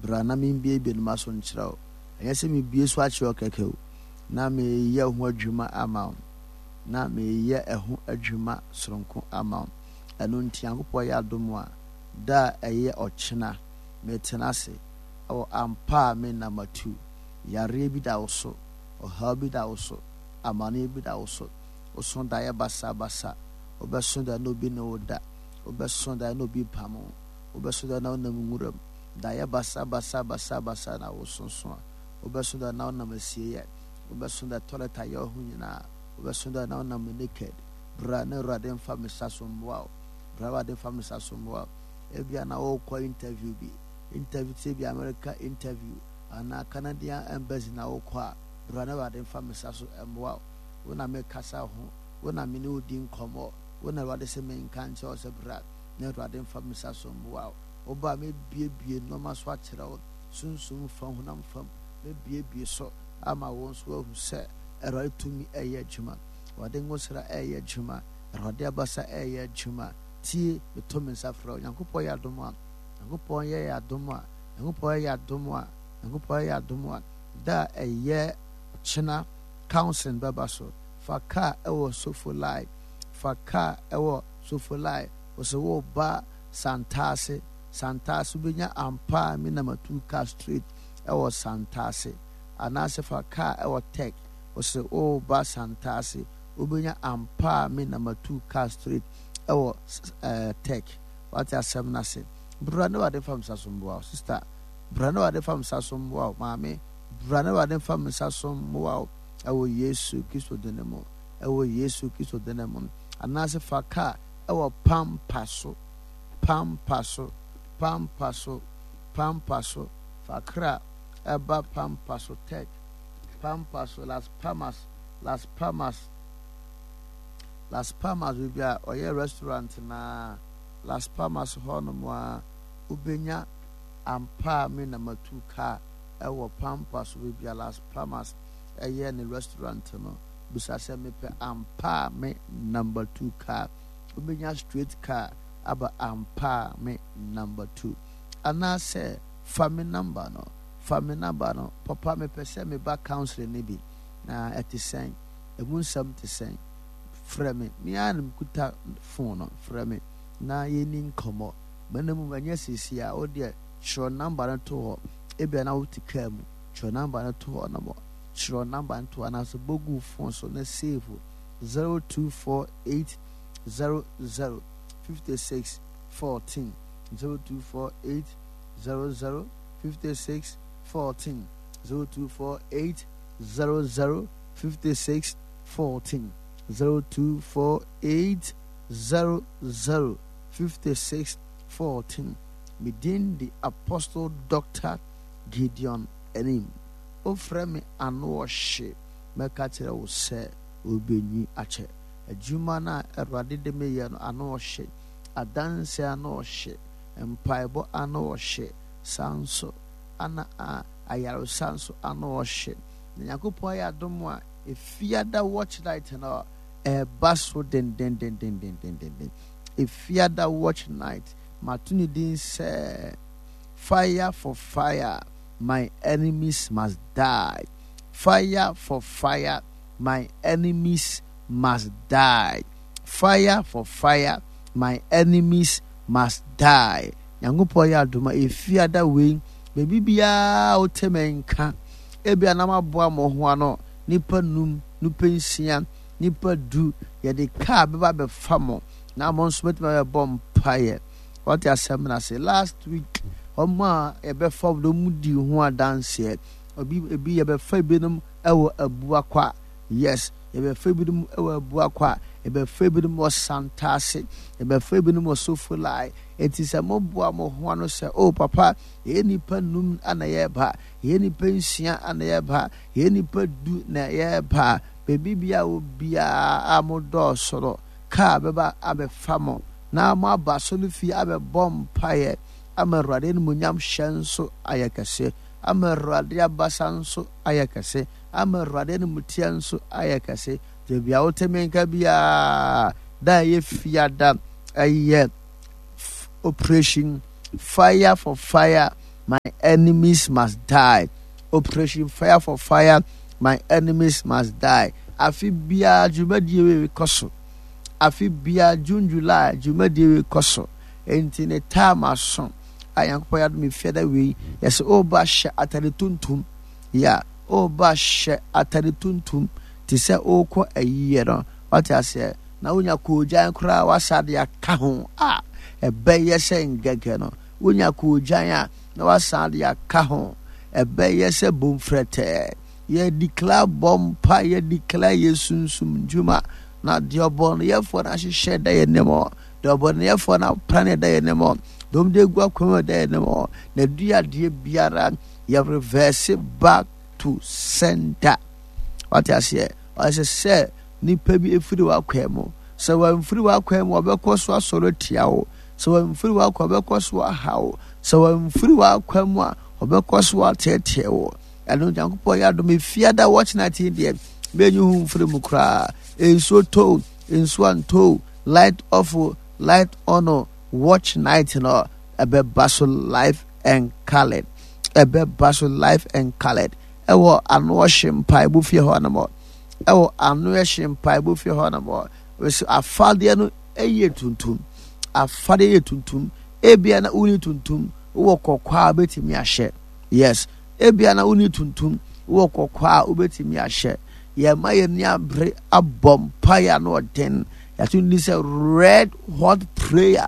Bra na membiebie no m'aso nkyerɛ wo. Ɛnyɛ sɛ mebue so akyerɛ wo kɛkɛ o, na mereyɛ ho adwuma ama wo. Na mereyɛ ɛho adwuma soronko ama wo. Ɛno nti, Nyankopɔn yɛ adom a, da a ɛyɛ ɔkyena, metena ase wɔ ampa a me nna matu. Yareɛ bi da wo so, ɔhaw bi da wo so, amaneɛ bi da wo so. Woso daeɛ basabasa, wobɛso daeɛ na obi ne wo da, wobɛso daeɛ na obi pam wo, wobɛso daeɛ na wonam nwura mu. Daeɛ basabasabasabasa na wososo a, wobɛso daeɛ na wonam asieeɛ, wobɛso daeɛ toilet ayɛ wo ho nyinaa, wobɛso daeɛ na wonam naked. Bra na Awurade mfa me sa so mmoa wo. Bra Awurade mfa me sa so mmoa wo. Ebia na wokɔ interview bi, interview te sɛ bi America interview anaa Canadian embassy na wokɔ a, bra na Awurade mfa me sa so mmoa wo. Wo na mekasa ho, wo na me ne wo di nkɔmmɔ, wo na Awurade sɛ menka nkyerɛ wo sɛ bra na Awurade mfa me sa so mmoa wo. Woba a mɛbuebue nnoɔma so akyerɛ wo, sunsum fam, honam fam, mɛbuebue so ama wo nso woahu sɛ Awurade tumi ɛyɛ adwuma, Awurade ngosra ɛyɛ adwuma, Awurade abasa ɛyɛ adwuma. Tie, meto me nsa frɛ wo. Nyankopɔn yɛ adom a, Nyankopɔn yɛ yɛ adom a, Nyankopɔn yɛ adom a, Nyankopɔn yɛ adom a, da a ɛyɛ ɔkyena counseling bɛba so. Fa kaa ɛwɔ Sofolai, fa kaa ɛwɔ Sofolai, wɔsɛ wo ba Santase, Santase wobɛnya ampa a me na matu kaa straight ɛwɔ Santase, anaasɛ fa kaa ɛwɔ Tech, wɔsɛ wo ba Santase, wobɛnya ampa a me na matu kaa straight ɛwɔ ɛɛ Tech. Wate asɛm no ase. Bra na Awurade mfa me nsa so mmoa wo. Sister, bra na Awurade mfa me nsa so mmoa wo. Maame, bra na Awurade mfa me nsa so mmoa wo. Ɛwɔ Yesu Kristo din mu. Ɛwɔ Yesu Kristo din mu. Anaasɛ fa kaa ɛwɔ pampa so. Pampa so. Pampa so. Pampa so. Fa kra ɛba pampa so tech. Pampa so Las Palmas. Las Palmas. Las Palmas baabi a ɔyɛ restaurant na Las Palmas hɔ nom a wobɛnya ampa a me na matu kaa ɛwɔ Pampa so baabi a Las Palmas ɛyɛ ne restaurant no bisa sɛ mepɛ ampa a me number 2 kaa wobɛnya straight car aba ampa a me number 2 anaasɛ fa me number no fa me number no papa mepɛ sɛ meba counseling no bi na ɛte sɛn ɛmu nsɛm te sɛn frɛ me me ara na mekuta phone no frɛ me na yɛnni nkɔmmɔ mɛna mu ɛnyɛ seesie a wo deɛ twerɛ number no to hɔ ebia na wote kaa mu twerɛ number no to hɔ na mɔ twerɛ number no to hɔ anaasɛ bɔ gu phone so na save 0248 00 56 14 0248 00 56 14 0248 00 56 14 0248 00 56 14 Me din de Apostle Doctor Gideon Anim. Wofrɛ me ano ɔhye, mɛka kyerɛ wo sɛ obenyi akyɛ. Adwuma no a Awurade de me yɛ no ano ɔhye, adanse ano ɔhye, mpaebɔ ano ɔhye, saa nso ana a ayaresa nso ano ɔhye. Na Nyankopɔn ayɛ adom a Efiada watch night no ɛreba so dendendendendendenden. Efiada watch night mato ne din sɛ Fire for fire, my enemies must die. Fire for fire, my enemies must die. Fire for fire, my enemies must die. Nyankopɔn yɛ adom a efiada wei baabi biara wote me nka ebia na maboa mo ho ano nipa num, nipa nsia, nipa du yɛde kaa bɛba bɛfa mo na mo nso bɛtumi abɛbɔ mpaeɛ. Wate asɛm no ase. Last week wɔn a yɛbɛfa wɔn mu di ho adanseɛ. Obi ebi yɛbɛfa ebinom wɔ Abuakwa. Yes, yɛbɛfa ebinom wɔ Abuakwa. Yɛbɛfa ebinom wɔ Santase. Yɛbɛfa ebinom wɔ Sofolai. Eti sɛ moboa mo ho ano sɛ, oh papa, yɛyɛ nnipa num na yɛreba, yɛyɛ nnipa nsia na yɛreba, yɛyɛ nnipa du na yɛreba. Baabi biara wɔ biara a modɔɔso no, kaa bɛba abɛfa mo na moaba asɔrefie abɛbɔ mpaeɛ ama Awurade animuonyam hyɛ nso ayɛ kɛse, ama Awurade abasa nso ayɛ kɛse, ama Awurade animteɛ nso ayɛ kɛse. Baabi a wote me nka biara, da a ɛyɛ fiada, ɛyɛ operation fire for fire, My Enemies Must Die. Operation Fire for Fire, My Enemies Must Die. Afe biara dwumadie wei kɔ so. Afe biara June, July dwumadie wei kɔ so. Enti ne time aso a Nyankopɔn yɛ adom efiada wei yɛsɛ ɔba hyɛ atade tuntum. Ya ɔba hyɛ atade tuntum te sɛ ɔrekɔ ayiyɛ no. Wate aseɛ? Na wonya koogyan koraa wasa de aka ho a ɛbɛyɛ sɛ ngɛgɛ no. Wonya koogyan a na wasan de aka ho. Ɛbɛyɛ sɛ bomfrɛtɛɛ. Yɛ declare bɔ mpa, yɛ declare yɛ sunsum ndwuma. Na deɛ ɔbɔneyɛfoɔ no ahyehyɛ da yɛn anim, deɛ ɔbɔneyɛfoɔ no aprane da yɛn anim, deɛ wɔde agu akwan mu da yɛn anim, na duadeɛ biara yɛ reverse back to sender. Wate aseɛ? Ɔsɛ sɛ nipa bi efiri w'akwan mu. Sɛ wɔamfiri w'akwan mu, ɔbɛkɔ so asɔre atia wo. Sɛ wɔamfiri w'akwan, ɔbɛkɔ so aha wo. Sɛ wɔamfiri w'akwan mu a, ɔbɛkɔ so ateetee wo. Ɛno Nyankopɔn yɛ adom efiada watch night yi deɛ menyi ho mfiri mu koraa. Nsuo tɔ nsuo antɔ light off light on watch night no ɛbɛba so live and colored. Ɛbɛba so live and colored. Ɛwɔ ano ɔhye mpaebɔ fie hɔ nom. Ɛwɔ ano ɛhye mpaebɔ fie hɔ nom. Afadeɛ no ɛyɛ tuntum. Afadeɛ yɛ tuntum. Ebia na wonni tuntum, wowɔ kɔkɔɔ a wobɛtumi ahyɛ. Yes. Ebia na wonni tuntum, wowɔ kɔkɔɔ a wobɛtumi ahyɛ. Yɛma yɛn ani abere abɔ mpaeɛ ano ɔden. Yɛato ni sɛ red hot prayer.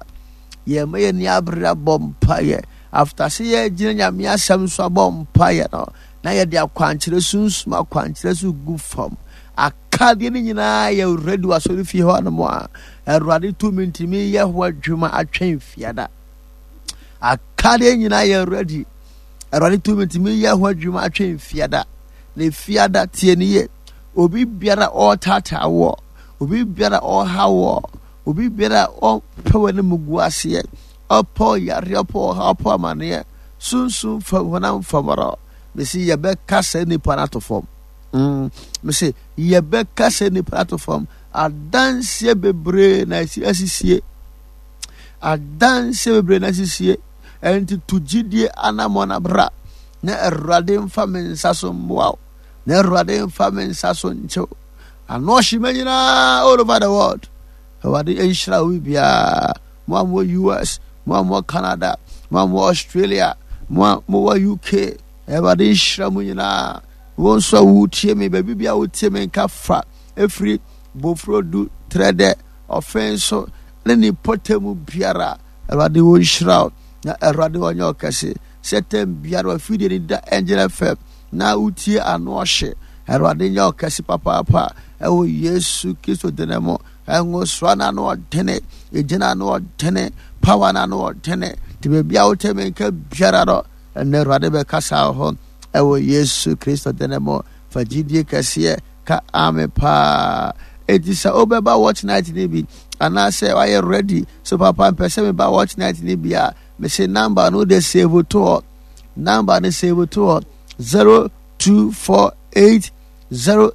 Yɛma yɛn ani abere abɔ mpaeɛ. After sɛ yɛgyina Nyame asɛm so abɔ mpaeɛ no, na yɛde akwankyerɛ sunsum akwankyerɛ so gu fam. Akadeɛ no nyinaa yɛ ready wɔ asɔrefie hɔ nom a Awurade tumi ntumi yɛ ho adwuma atwɛn fiada. Akadeɛ nyinaa yɛ ready. Awurade tumi ntumi yɛ ho adwuma atwɛn fiada. Na fiada tie ne yie. Obi biara ɔretaataa woɔ, obi biara ɔreha woɔ, obi biara ɔpɛ w'anim gu aseɛ, ɔpɛ ɔyareɛ, ɔpɛ ɔha, ɔpɛ amaneɛ, sunsum fam, honam fam no, mesi yɛbɛka saa nipa no ato fam. Mese yɛbɛka sɛ nipa ato fam. Adanseɛ bebree na ɛsi asisie. Adanseɛ bebree na asisie. Ɛnti to gyidie anammɔn abra na Awurade mfa me nsa so mmoa wo. Na Awurade mfa me nsa so nkyew. Ano ɔhyema nyinaa all over the world. Awurade nhyira wo biara. Mo a mowɔ US, mo a mowɔ Canada, mo a mowɔ Australia, mo a mowɔ UK. Awurade nhyira mo nyinaa. Wo nso a wotie me, baabi bi a wotie me nka fa ɛfiri Bofrodu, Trɛdɛ, Ɔfen so ne ne mpɔtam biara. Awurade wo nhyira wo na Awurade ɔnyɛ ɔkɛse. Sɛ tɛm biara wafidie ni da Angel FM na wotie ano ɔhye. Awurade nyɛ ɔkɛse papaapa ɛwɔ Yesu Kristo dene mu. Ɛngosoa no ano ɔdene, egyina ano ɔdene, power no ano ɔdene. Nti baabi a wote me nka biara no, ɛnɛ Awurade bɛkasa wɔ hɔ. Ɛwɔ Yesu Kristo dene mu, fa gyidie kɛseɛ ka amen paa. Enti sɛ wobɛba watch night no bi anaasɛ wayɛ ready so papa mpɛ sɛ meba watch night no bi a, mese number no de save to hɔ. Number no save to hɔ 0248 00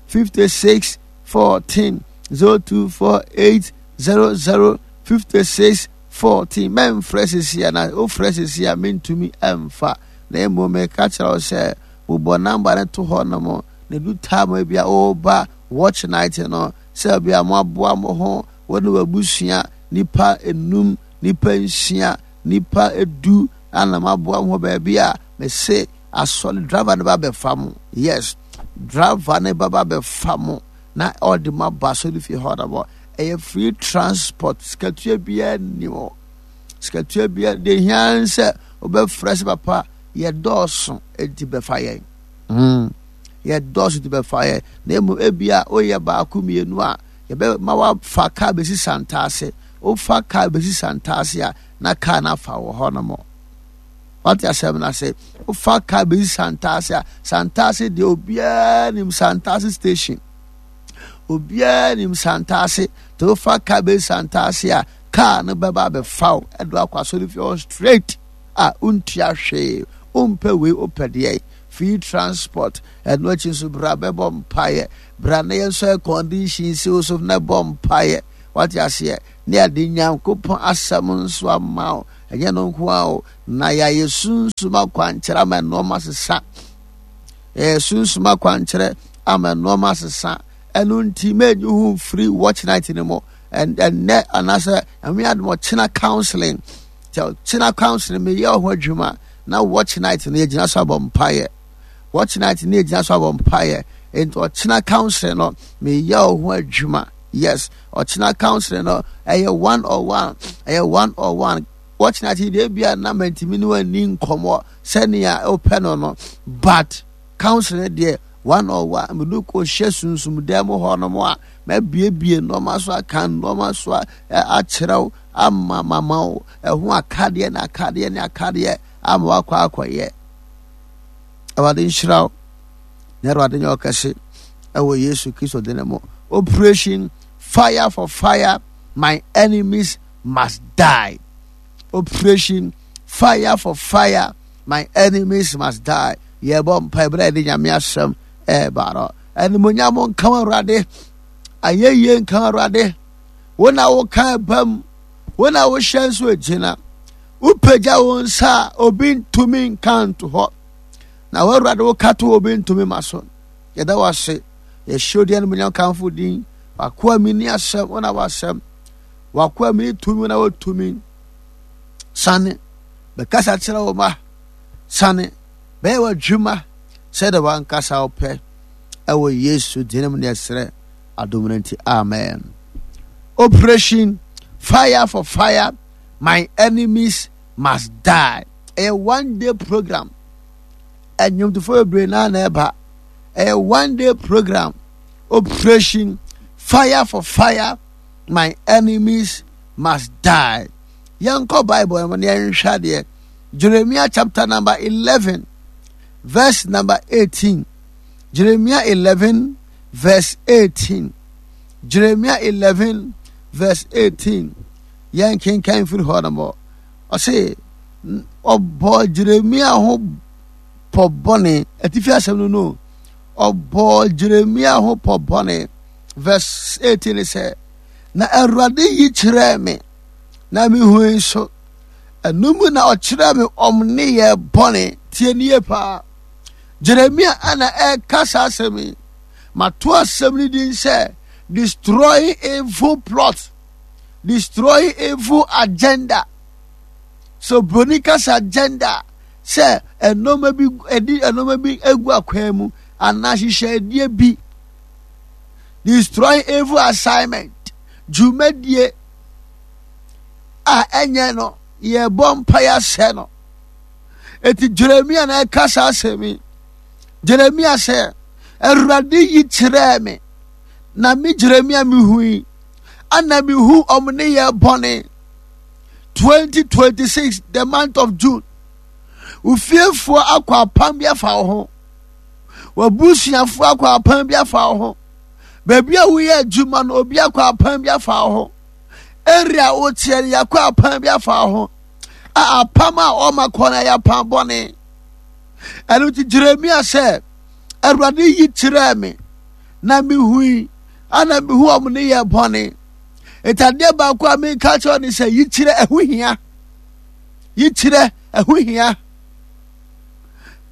56 14 0248 00 56 14 mɛmfrɛ sisi a na wofrɛ sisi a mentumi ɛmfa. Na mmom meka kyerɛ wo sɛ bobɔ namba no to hɔ nom na du time bi a woba watch night no sɛ bi a moaboa mo ho wo ne w'abusua nipa enum nipa nsia nipa edu ana moaboa mo ho baabi a mese asɔre driver no ba bɛfa mo. Yes, driver no ba ba bɛfa mo na ɔde mo aba asɔre fie hɔ nom. Ɛyɛ free transport, sikatua biara nni hɔ. Sikatua biara deɛ hia sɛ wobɛfrɛ sɛ papa yɛdɔɔso enti bɛfa yɛn. Yɛdɔɔso nti bɛfa yɛn. Na mmom ebia woyɛ baako mmienu a yɛbɛma wafa kaa bɛsi Santase. Wofa kaa bɛsi Santase a na kaa no afa wɔ hɔ nom. Wate asɛm no ase? Wofa kaa bɛsi Santase a, Santase deɛ obiara nim Santase station. Obiara nim Santase. Nti wofa kaa bɛsi Santase a, kaa no bɛba abɛfa wo ɛde akɔ asɔrefie hɔ straight a wontua hwee. Wompɛ wei wopɛ deɛ free transport. Ɛno akyi nso bra bɛbɔ mpaeɛ. Bra na yɛn nso air condition si wo so na bɔ mpaeɛ. Wate aseɛ? Ne yɛde Nyankopɔn asɛm nso ama wo. Ɛnyɛ no nko ara o, na yɛayɛ sunsum akwankyerɛ ama nneɛma sesa. Yɛyɛ sunsum akwankyerɛ ama nneɛma sesa. Ɛno nti, mɛnyi ho mfiri watch night no mu. Ɛnnɛ anaasɛ Nyame adom ɔkyena counseling. Sɛ ɔkyena counseling meyɛ ho adwuma na watch night no yɛgyina so abɔ mpaeɛ. Watch night no yɛgyina so abɔ mpaeɛ. Nti ɔkyena counseling no meyɛ ho adwuma. Yes, ɔkyena counseling no ɛyɛ one on one, ɛyɛ one on one. Watch night deɛ ebia na mantumi ne wani nkɔmmɔ sɛnea wopɛ no no, but counseling deɛ one on one mede kɔhyɛ sunsum dan mu hɔ nom a mɛbiebie nneɛma so aka nneɛma so akyerɛw ama mama wo ɛho akadeɛ ne akadeɛ ne akadeɛ ama wakɔ akɔyɛ. Awurade nhyira wo na Awurade nyɛ ɔkɛse ɛwɔ Yesu Kristo din mu. Operation fire for fire, my enemies must die. Operation fire for fire, my enemies must die. Yɛbɔ mpae berɛ a yɛde Nyame asɛm ɛreba no. Animuonyam nka wo Awurade, ayɛyie nka wo Awurade. Wo na woka ɛba mu, wo na wohyɛ nso egyina. Wopagya wo nsa a obi ntumi nka nto hɔ. Na wo Awurade woka to obi ntumi ma so. Yɛda wo ase. Yɛhyɛ odi animuonyam kamfo din. Wakoa mi ni asɛm, wo na wasɛm. Wakoa mi ni tumi, wo na wotumi. Sane bɛkasa kyerɛ wo ma. Sane bɛyɛ w'adwuma sɛdeɛ w'ankasa wopɛ. Ɛwɔ Yesu din mu ne yɛsrɛ adom no nti. Amen. Operation Fire for Fire, My Enemies Must Die. Ɛyɛ one day program. Ɛnwomtofoɔ bebree naa na ɛba. Ɛyɛ one day program. Operation Fire for Fire, My Enemies Must Die. Yɛnkɔ Bible no mu na yɛnhwɛ adeɛ. Jeremiah chapter number 11, verse number 18. Jeremiah 11, verse 18. Jeremiah 11, verse 18. Yɛn kenkan firi hɔ nom. Ɔse, ɔbɔ Jeremiah ho pɔ bɔne. Atifi asɛm no no. Ɔbɔ Jeremiah ho pɔ bɔne. Verse 18 sɛ, na Awurade yi kyerɛɛ me, na mehui nso. Ɛno mu na ɔkyerɛɛ me ɔm nneyɛɛ bɔne. Tie nie paa. Jeremia ana ɛreka saa asɛm yi. Mato asɛm no din sɛ destroying evil plot, destroying evil agenda. So broni kasa agenda sɛ nneɛma bi ɛdi nneɛma bi egu akwan mu anaa hyehyɛdeɛ bi. Destroying evil assignment, dwumadie a ɛnyɛ no yɛbɔ mpaeɛ asɛ no. Eti Jeremia na ɛka saa asɛm yi. Jeremia sɛ, Awurade yi kyerɛɛ me, na me Jeremia mehui, ana mehu ɔmo ne yɛ bɔne. 2026, the month of June. Ofiefoɔ akɔ apam bi afa wo ho. W'abusuafoɔ akɔ apam bi afa wo ho. Baabi a woyɛ adwuma no, obi akɔ apam bi afa wo ho. Area a woteɛ no, yɛakɔ apam bi afa wo ho. A apam a ɔma kɔ no ɛyɛ apam bɔne. Ɛno nti Jeremia sɛ, Awurade yi kyerɛɛ me, na mehui, ana mehu ɔmo ne yɛ bɔne. Nti adeɛ baako a menka kyerɛ ne sɛ, yi kyerɛ ɛho hia. Yi kyerɛ ɛho hia.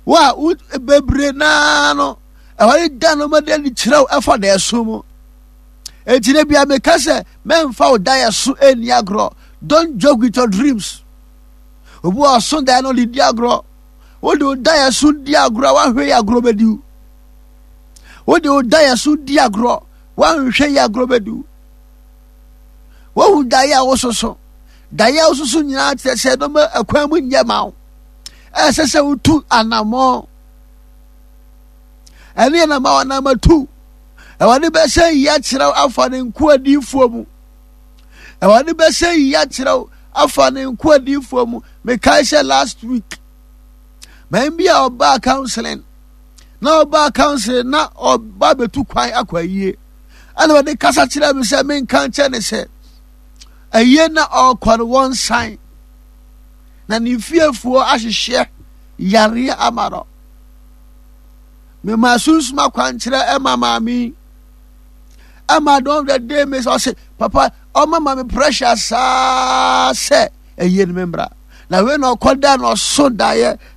Wo a wo bebree naa no, ɛwɔde da no ma de ani kyerɛ wo ɛfa da ɛso mu. Enti da bia meka sɛ mɛmfa wo daeɛ so ɛnni agorɔ. Don't joke with your dreams. Obi wɔ ɔso daeɛ no ɔde di agorɔ. Wode wo daeɛ so di agorɔ a woanhwɛ yɛ agorɔ bɛdi wo. Wode wo daeɛ so di agorɔ woanhwɛ yɛ agorɔ bɛdi wo. Wohu daeɛ a wososo. Daeɛ a wososo nyinaa kyerɛ sɛ nneɛma akwan mu nyɛ ma wo. Ɛsɛ sɛ wotu anammɔn. Ɛne yɛ na ma wɔnam atu. Awurade bɛsɛ yi akyerɛ wo afa ne nkoa diifoɔ mu. Awurade bɛsɛ yi akyerɛ wo afa ne nkoa diifoɔ mu. Mekae sɛ last week, man bi a ɔbaa counseling, na ɔbaa counseling na ɔba bɛtu kwan akɔ ayie. Ɛna ɔde kasa kyerɛ me sɛ menka nkyɛ ne sɛ ayie na ɔrekɔ no wɔnsan. Na ne fiefoɔ ahyehyɛ yareɛ ama no. Mema sunsum akwankyerɛ ɛma maame yi. Ɛma don the day me sɛ ɔse papa ɔma ma me pressure saa sɛ ɛyie no me mmra. Na wei na ɔkɔda na ɔso daeɛ.